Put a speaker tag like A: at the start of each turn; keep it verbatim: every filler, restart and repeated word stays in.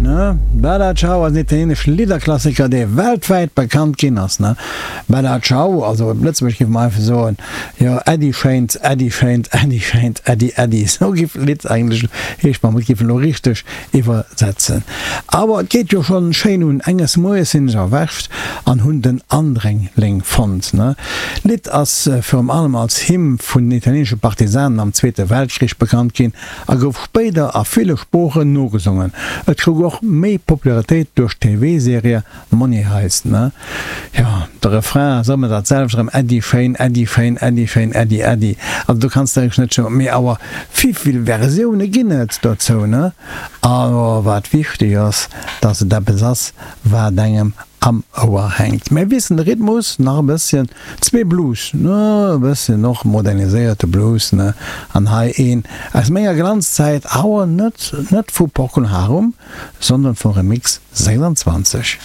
A: Ne? Bella Ciao ass en italieenesche Lidderklassiker, dee weltwäit bekannt ginn ass, ne? Bella Ciao, also op Lëtzebuergesch géife mer einfach soen, jo, Äddi schéint, Äddi schéint, Äddi schéint, Äddi, Äddi. Esou géif d'Lidd eigentlech heeschen, wa mer et géifen elo richteg iwwersetzen. Awer et geet jo schonn schéin un, Enges Moies sinn ech erwächt an hunn den Andréngling fonnt, ne? D'Lidd ass virum allem als Hymn vun den italieenesche Partisanen am Zweete Weltkrich bekannt ginn a gouf spéider a ville Sproochen nogesongen. Et krut och méi Popularitéit duerch d'T V-Serie Money Heist, ne? Jo, de Refrain ass ëmmer dat selwecht erëm, Äddi schéin, Äddi schéin, Äddi schéin, Äddi, Äddi. Also do kanns de eigentlech net scho, mee awer vivill Versioune ginn et dozou, ne? Awer wat wichteg ass, dass et eppes ass, wat engem am Ouer hänkt. Mir wiesselen de Rhythmus nach e bësschen, zwee Blues, ne, e bësschen och moderniséierte Blues, ne, an hei een aus menger Glanzzäit, awer net net vu Procol Harum, sondern vu Remix sechsanzwanzeg.